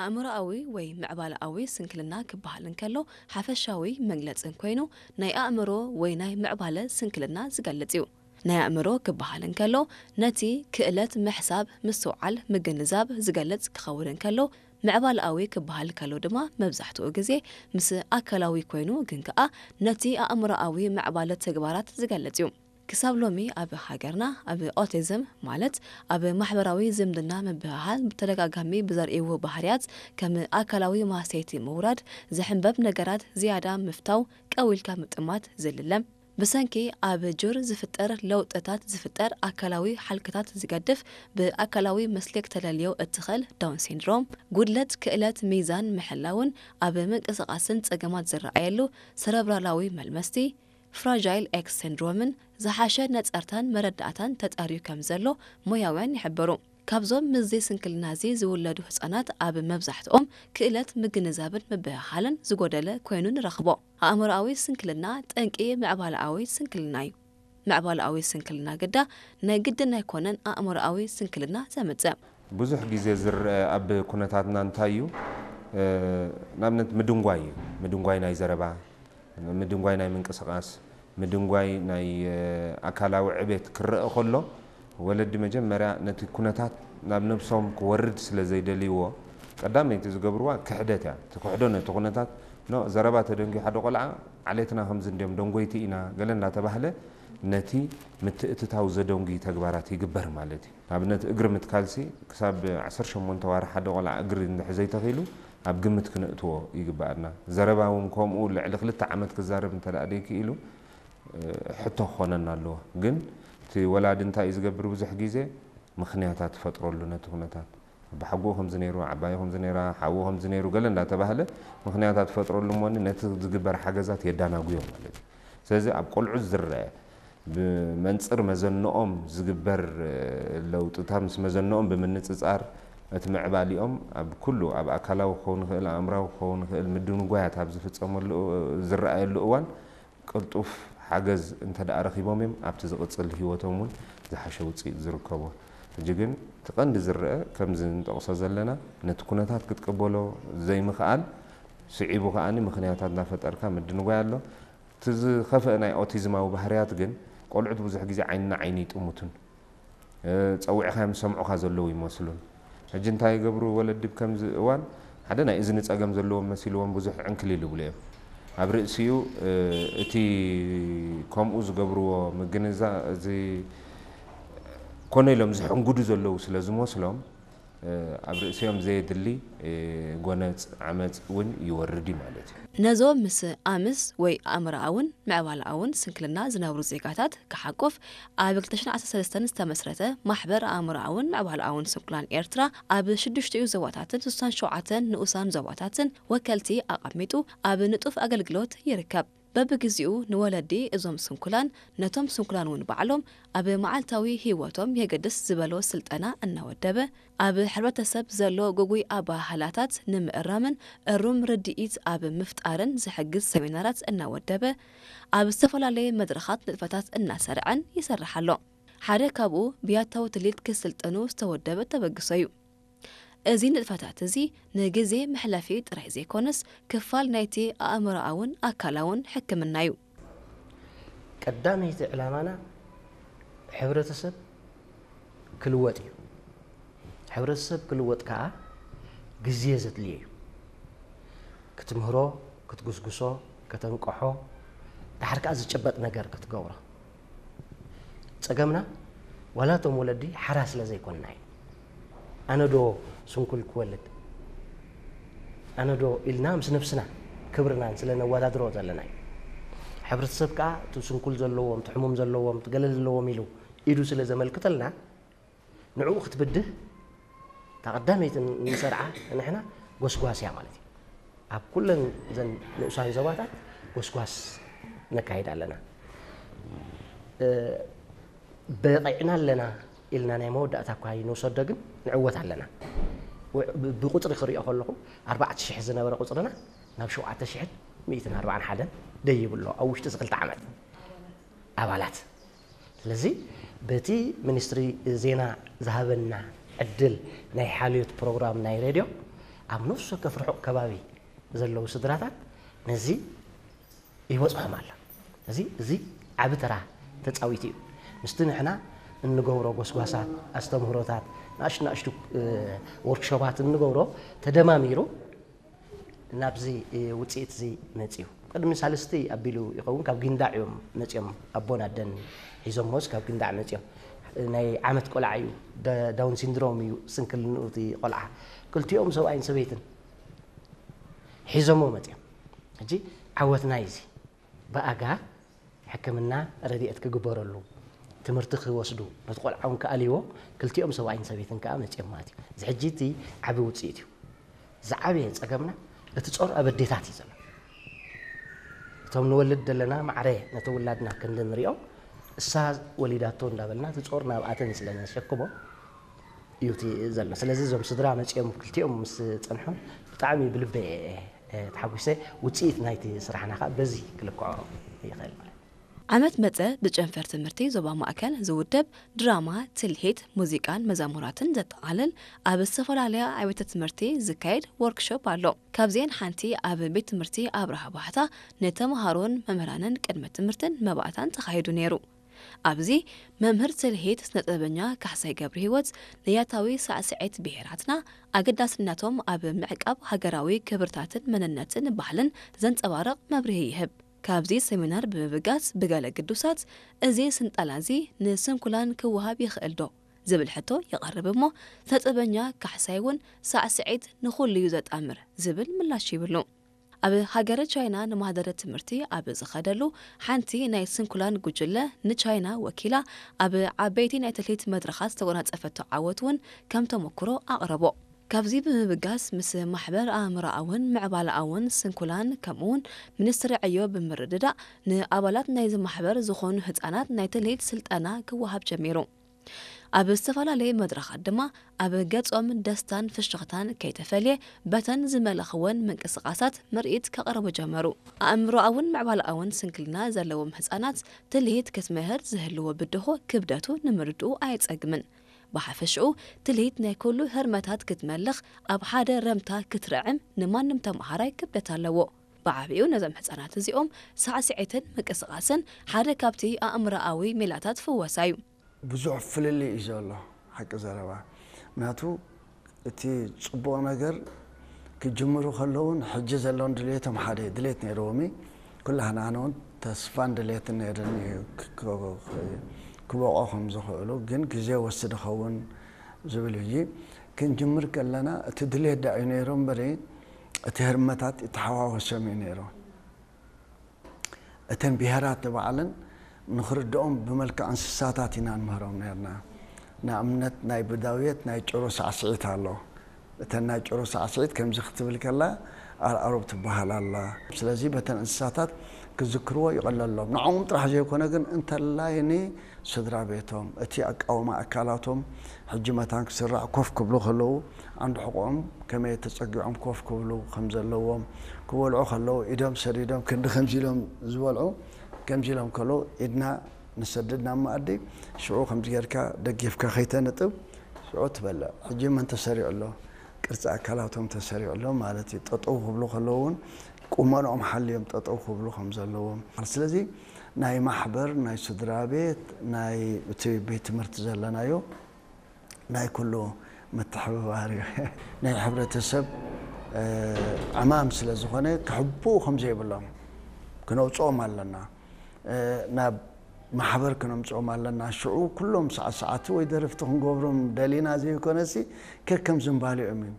ኣእምሮኣዊ ወይ ምዕባለኣዊ ስንክልና ክበሃል እንከሎ ሓፈሻዊ መግለጺ ኮይኑ ናይ ኣእምሮ ወይ ናይ ምዕባለ ስንክልና ዝገልጽ እዩ። ናይ ኣእምሮ ክበሃል እንከሎ ነቲ ክእለት ምሕሳብ፣ ምስትውዓል፣ ምግንዛብ ዝገልጽ ክኸውን እንከሎ ምዕባለኣዊ ክበሃል ከሎ ድማ መብዛሕትኡ ግዜ ምስ ኣካላዊ ኮይኑ ግን ከኣ ነቲ ኣእምሮኣዊ ምዕባለ ተግባራት ዝገልጽ እዩ። ክሳብ ሎሚ ኣብ ሃገርና ኣብ ኦቲዝም ማለት ኣብ ማሕበራዊ ዝምድና ምብህሃል ብተደጋጋሚ ብዘርእይዎ ባህርያት ከም ኣካላዊ ማህሰይቲ ምውራድ፣ ዝሕንበብ ነገራት ዝያዳ ምፍታው፣ ቀው ኢልካ ምጥማት ዝልለ። ብሰንኪ ኣብ ጁር ዝፍጠር ለውጥታት ዝፍጠር ኣካላዊ ሓልክታት ዝገድፍ ብኣካላዊ መስሌክ ተለልዮ እትኽእል ዳውን ሲንድሮም፣ ጉድለት ክእለት ሚዛን ምሕላውን ኣብ ምንቅስቓስን ጸገማት ዝረኣየሉ ሰረብራላዊ መልመስቲ፣ ፍራጃይል ኤክስ ሲንድሮምን ዝሓሸ ነጸርታን መረዳእታን ተጻርዩ ከም ዘሎ ሞያውያን ይሕብሩ። ካብዞም ምስዚ ስንክልና እዚ ዝውለዱ ህጻናት ኣብ መብዛሕትኦም ክእለት ምግንዛብን ምብህሃልን ዝጎደለ ኮይኑ ንረኽቦ። ኣእምሮኣዊ ስንክልና ጠንቂ ምዕባለኣዊ ስንክልና እዩ። ምዕባለኣዊ ስንክልና ግዳ ናይ ግድን ኣይኮነን ኣእምሮኣዊ ስንክልና ዘምጽእ። ብዙሕ ግዜ ዝረአ ኣብ ኩነታትና እንታይ እዩ? እ፣ ንኣብነት ምድንጓይ እዩ። ምድንጓይ ናይ ዘረባ፣ ምድንጓይ ናይ ምንቅስቓስ፣ ምድንጓይ ናይ፣ እ፣ ኣካላዊ ዕቤት ክረአ ከሎ፣ ወለዲ መጀመርያ ነቲ ኩነታት ናብ ነብሶም ክወርድ ስለ ዘይደልይዎ፣ ቀዳመይቲ ዝገብርዋ ክሕደት እያ። እቲ ክሕዶ ነቲ ኩነታት፣ ኖ፣ ዘረባ ተደንጉዩ ሓደ ቆልዓ፣ ዓሌትና ከምዚ እንድዮም ደንጎይቲ ኢና፣ ገለ እንዳተባህለ ነቲ ምትእትታው ዘደንጉዩ ተግባራት ይግበር ማለት እዩ። ንኣብነት እግሪ ምትካልሲ ክሳብ ዓሰርተ ሸሞንተ ዋርሕ ሓደ ቆልዓ እግሪ እንድሕር ዘይተኺሉ ኣብ ግምት ክነእትዎ ይግበኣና። ዘረባ እውን ከምኡ ልዕሊ ክልተ ዓመት ክዛረብ እንተ ደኣ ደይክኢሉ፣ እ፣ ሕቶ ክኾነና ኣለዎ። ግን እቲ ወላዲ እንታይ እዩ ዝገብር? ብዙሕ ግዜ ምኽንያታት ትፈጥረሉ ነቲ ኩነታት። ኣባሓጎኡ ከምዚ ነይሩ፣ ዓባዩ ከምዚ ነይራ፣ ሓዉ ከምዚ ነይሩ፣ ገለ እንዳተባህለ ምኽንያታት ትፈጥረሉ እሞኒ ነቲ ዝግበር ሓገዛት የዳናጉዮ ማለት እዩ። ስለዚ ኣብ ቆልዑ ዝረአ ብመንጽር መዘንኦም ዝግበር፣ እ፣ ለውጥታት ምስ መዘንኦም ብምንጽጻር እቲ ምዕባሊኦም ኣብ ኩሉ ኣብ ኣካላዊ ክኸውን ይኽእል፣ ኣእምራዊ ክኸውን ይኽእል፣ ምድንጓያት ኣብ ዝፍጸመሉ፣ እ፣ ዝረኣየሉ እዋን ቅልጡፍ ሓገዝ እንተ ደኣ ረኺቦም እዮም ኣብቲ ዝቕጽል ህይወቶም እውን ዝሓሸ ውጽኢት ዝርከቦ። ሕጂ ግን እቲ ቀንዲ ዝረአ ከምዚ ንጠቕሶ ዘለና ነቲ ኩነታት ክትቅበሎ ዘይምኽኣል ስዒቡ ከኣ ምኽንያታት እናፈጠርካ ምድንጓይ ኣሎ። እቲ ዝኸፍአ ናይ ኦቲዝማዊ ባህርያት ግን ቆልዑት ብዙሕ ግዜ ዓይኒ ንዓይኒ ይጥምቱን፣ እ፣ ጸዊዕካዮም ዝሰምዑኻ ዘለዉ ይመስሉን። ሕጂ እንታይ ይገብሩ ወለዲ ኣብ ከምዚ እዋን? ሓደ ናይ እዝኒ ጸገም ዘለዎም መሲልዎም ብዙሕ ዕንክሊል ይብሉ እዮም። ኣብ ርእሲኡ፣ እ፣ እቲ ከምኡ ዝገብርዎ ምግንዛ-፣ እዚ ኮነ ኢሎም ዝሕንጉዱ ዘለዉ ስለ ዝመስሎም፣ እ፣ ኣብ ርእሲኦም ዘየድሊ፣ እ፣ ጎነጽ፣ ዓመጽ እውን ይወርድ እዩ ማለት እዩ። ነዞም ምስ ኣምስ ወይ ኣእምሮኣውን ምዕባለኣውን ስንክልና ዝነብሩ ዜጋታት ክሓቁፍ ኣብ ክልተ ሽሕን ዓሰርተ ሰለስተን ዝተመስረተ ማሕበር ኣእምሮኣውን ምዕባለኣውን ስንኩላን ኤርትራ ኣብ ሽዱሽቲኡ ዞባታትን ስሳን ሸውዓተን ንኡሳን ዞባታትን ወከልቲ ኣቐሚጡ ኣብ ንጡፍ ኣገልግሎት ይርከብ። በብግዜኡ ንወለዲ እዞም ስንኩላን ነቶም ስንኩላን እውን ባዕሎም ኣብ መዓልታዊ ህይወቶም የገድስ ዝበሎ ስልጠና እናወደበ ኣብ ሕብረተሰብ ዘሎ ግጉይ ኣበሃህላታት ንምእራምን እሩም ርድኢት ኣብ ምፍጣርን ዝሕግዝ ሰሚናራት እናወደበ ኣብ ዝተፈላለየ መድረኻት ንጥፈታት እናሰርዐን ይሰርሕ ኣሎ። ሓደ ካብኡ ብያታዊ ትልሂት ክስልጠኑ ዝተወደበ ተበግሶ እዩ። እዚ ንጥፈታት እዚ ንግዜ መሕለፊ ጥራይ ዘይኮነስ ክፋል ናይቲ ኣእምሮኣውን ኣካላውን ሕክምና እዩ። ቀዳመይቲ ዕላማና ሕብረተሰብ ክልወጥ እዩ። ሕብረተሰብ ክልወጥ ከኣ ግዜ ዘድልዮ እዩ። ክትምህሮ፣ ክትጉስጉሶ፣ ከተንቅሖ፣ ደሓር ከኣ ዝጭበጥ ነገር ክትገብሮ። ጸገምና ዋላ እቶም ወለዲ ሓራ ስለ ዘይኮንና እዩ። ኣነ ዶ ስንኩል ክወልድ? ኣነ ዶ ኢልና ምስ ነብስና ክብርናን ስለ ነወዳድሮ ዘለና እዩ። ሕብረተሰብ ከኣ እቲ ስንኩል ዘለዎም፣ እቲ ሕሙም ዘለዎም፣ እቲ ገለ ዘለዎም ኢሉ ኢዱ ስለ ዘመልክተልና ንዕኡ ክትብድህ እታ ቀዳመይቲ ንሰርዓ ንሕና ጎስጓስ እያ ማለት እዩ። ኣብ ኩለን እዘን ንኡሳን ዞባታት ጎስጓስ ነካይድ ኣለና። እ፣ በቒዕና ኣለና ኢልና ናይ መወዳእታ እኳ ይንውሰዶ ግን ንዕወት ኣለና። ው-፣ ብ-፣ ብቁጽሪ ክሪኦ ከለኹ ኣርባዕተ ሽሕ ዝነበረ ቁጽርና ናብ ሸውዓተ ሽሕን ሚእትን ኣርባዓን ሓደን ደይቡ ኣሎ ኣብ ውሽጢ እዚ ክልተ ዓመት ኣባላት። ስለዚ በቲ ሚኒስትሪ ዜና ዝሃበና ዕድል ናይ ሓልዮት ፕሮግራም ናይ ሬድዮ ኣብ ነፍሲ ወከፍ ርሑቕ ከባቢ ዘለዉ ስድራታት ነዚ ይበጽሖም ኣሎ። እዚ እዚ ዓቢ ተራ ተጻዊቱ እዩ። ምስቲ ንሕና እንገብሮ ጎስጓሳት፣ ኣስተምህሮታት፣ ንኣሽቱ ንኣሽቱ ወርክሾፓት እንገብሮ ተደማሚሩ ናብዚ ውፅኢት እዚ መፅዩ። ቅድሚ ሳልስቲ ኣቢሉ ይኸውን ካብ ጊንዳዕ እዮም መፅዮም። ኣቦን ኣደን ሒዞሞስ ካብ ጊንዳዕ መፅዮም። ናይ ዓመት ቆልዓ እዩ፣ ዳውን ሲንድሮም እዩ ስንክልንኡ እቲ ቆልዓ። ክልቲኦም ሰብኣይን ሰበይትን ሒዞሞ መፅዮም። ሕጂ ዓወትና እዩ እዚ። ብኣጋ ሕክምና ረድኤት ክግበረሉ፣ ትምህርቲ ክወስዱ፣ ነቲ ቆልዓ እውን ክኣልይዎ ክልቲኦም ሰብኣይን ሰበይትን ከዓ መፅዮም ማለት እዩ። እዚ ሕጂ እቲ ዓቢ ውፅኢት እዩ። ዝዓበየ ፀገምና እቲ ጾር ኣብ ኣዴታት እዩ ዘሎ። እቶም ንወልድ ዘለና ማዕረ ነቲ ውላድና ክንዲ ንሪኦ እሳ ወሊዳቶ እንዳበልና እቲ ጾር ናብኣተን ስለ ነሸክሞ እዩ እቲ ዘሎ። ስለዚ እዞም ስድራ መፂኦም ክልቲኦም ምስ ፀንሑ ብጣዕሚ ብልበ ተሓጒሰ። ውፅኢት ናይቲ ስራሕና ከዓ በዚ ክልክዖ ይኽእል ማለት። ዓመት መጸ ብጨንፈር ትምህርቲ ዞባ ማእከል ዝውደብ ድራማ፣ ትልሂት፣ ሙዚቃን መዛሙራትን ዘጠቓልል ኣብ ዝተፈላለያ ኣብያተ ትምህርቲ ዝካየድ ወርክሾፕ ኣሎ። ካብዚኤን ሓንቲ ኣብ ቤት ትምህርቲ ኣብርሃ ባሕታ ንተምሃሮን መምህራንን ቅድመ ትምህርትን መባእታን ተኻይዱ ነይሩ። ኣብዚ መምህር ትልሂት ስነጥበበኛ ካሕሳይ ገብረሂወት ንያታዊ ሳዕስዒት ብሄራትና ኣገዳስነቶም ኣብ ምዕቃብ ሃገራዊ ክብርታትን መንነትን ባህልን ዘንጸባርቕ መብርሂ ይህብ። ካብዚ ሰሚናር ብምብጋስ ብገለ ግዱሳት እዚ ስንጣላ እዚ ንስንኩላን ክወሃብ ይኽእል ዶ ዝብል ሕቶ ይቐርብ እሞ ስነጥበበኛ ካሕሳይ እውን ሳዕስዒት ንኹሉ እዩ ዘጣምር ዝብል ምላሽ ይብሉ። ኣብ ሃገረ ቻይና ንማህደረ ትምህርቲ ኣብ ዝኸደሉ ሓንቲ ናይ ስንኩላን ጉጅለ ንቻይና ወኪላ ኣብ ዓበይቲ ናይ ትልሂት መድረኻት ዝተጎናጸፈቶ ዓወት እውን ከም ተመክሮ ኣቕረቦ። ካብዚ ብምብጋስ ምስ ማሕበር ኣእምሮኣውን ምዕባለኣውን ስንኩላን ከምኡውን ሚኒስትሪ ዕዮ ብምርድዳእ ንኣባላት ናይዚ ማሕበር ዝኾኑ ህጻናት ናይ ትልሂት ስልጠና ክወሃብ ጀሚሩ። ኣብ ዝተፈላለየ መድረኻት ድማ ኣብ ገጾም ደስታን ፍሽኽታን ከይተፈልየ በተን ዝመለኽወን ምንቅስቓሳት ምርኢት ከቕርቡ ጀመሩ። ኣእምሮኣውን ምዕባለኣውን ስንክልና ዘለዎም ህጻናት ትልሂት ክትምህር ዝህልዎ ብድሆ ክብደቱ ንምርድኡ ኣየጸግምን። ብሓፈሽኡ ትልሂት ናይ ኩሉ ህርመታት ክትመልኽ ኣብ ሓደ ረምታ ክትርዕም ንማንም ተመሃራይ ክብደት ኣለዎ። ብዓቢኡ ነዞም ህጻናት እዚኦም ሳዕስዒትን ምንቅስቓስን ሓደ ካብቲ ኣእምሮኣዊ ሜላታት ፍወሳ እዩ። ብዙሕ ፍልልይ እዩ ዘሎ ሓቂ ዘረባ። ምክንያቱ እቲ ጽቡቕ ነገር ክጅምሩ ከለውን ሕጂ ዘለውን ድልየቶም ሓደ እዩ። ድልየት ነይርዎም እዩ። ኩላህና ኣነ እውን ተስፋን ድልየትን ነይርኒ እዩ ክ- ክ- ክ- ክበቑ ከም ዝኽእሉ፣ ግን ግዜ ወስድ ኸውን ዝብል እዩ። ክንጅምር ከለና እቲ ድልየት ዳ እዩ ነይሩ እምበሪ እቲ ህርመታት ይተሓዋወሶም እዩ ነይሩ። እተን ብሄራት ንባዕለን ንኽርድኦም ብመልክዕ እንስሳታት ኢና ንምህሮም ነርና። ንኣብነት ናይ ብዳውየት ናይ ጭሩ ሳዕስዒት ኣሎ። እተን ናይ ጭሩ ሳዕስዒት ከምዚ ክትብል ከላ ኣርኣሮብ ትበሃል ኣላ። ስለዚ በተን እንስሳታት ክዝክርዎ ይቐለሎም። ንዕኦም ጥራሕ ዘይኮነ ግን እንተላይ ኒ ስድራ ቤቶም፣ እቲ ኣቃውማ ኣካላቶም ሕጂ መታን ክስራዕ ኮፍ ክብሉ ከለዉ ዓንዲ ሕቖኦም ከመይ ተጸጊዖም ኮፍ ክብሉ ከም ዘለዎም፣ ክበልዑ ከለዉ ኢዶም ሰዲዶም ክንዲ ከምዚ ኢሎም ዝበልዑ ከምዚ ኢሎም ከለዉ ኢድና ንሰድድ ናብ መኣዲ ሽዑ ከምዚ ጌርካ ደጊፍካ ከይተንጥብ ሽዑ ትበልዕ። ሕጂ መን ተሰሪዑ ኣሎ? ቅርጺ ኣካላቶም ተሰሪዑ ኣሎ ማለት እዩ። ጠጠው ክብሉ ከለዉ እውን ቁመንኦም ሓልዮም ጠጠው ክብሉ ከም ዘለዎም። ስለዚ ናይ ማሕበር፣ ናይ ስድራ ቤት፣ ናይ እቲ ቤት ትምህርቲ ዘለናዮ ናይ ኩሉ ምትሕብባር እዩ። ናይ ሕብረተሰብ ዕማም ስለ ዝኾነ ክሕብኡ ከም ዘይብሎም ክነውፅኦም ኣለና። ናብ ማሕበር ክነምፅኦም ኣለና። ሽዑ ኩሎም ሳዕሳዕቲ ወይ ደረፍቲ ክንገብሮም ደሊና ዘይኮነሲ ከከም ዝንባሊኦም እዩ።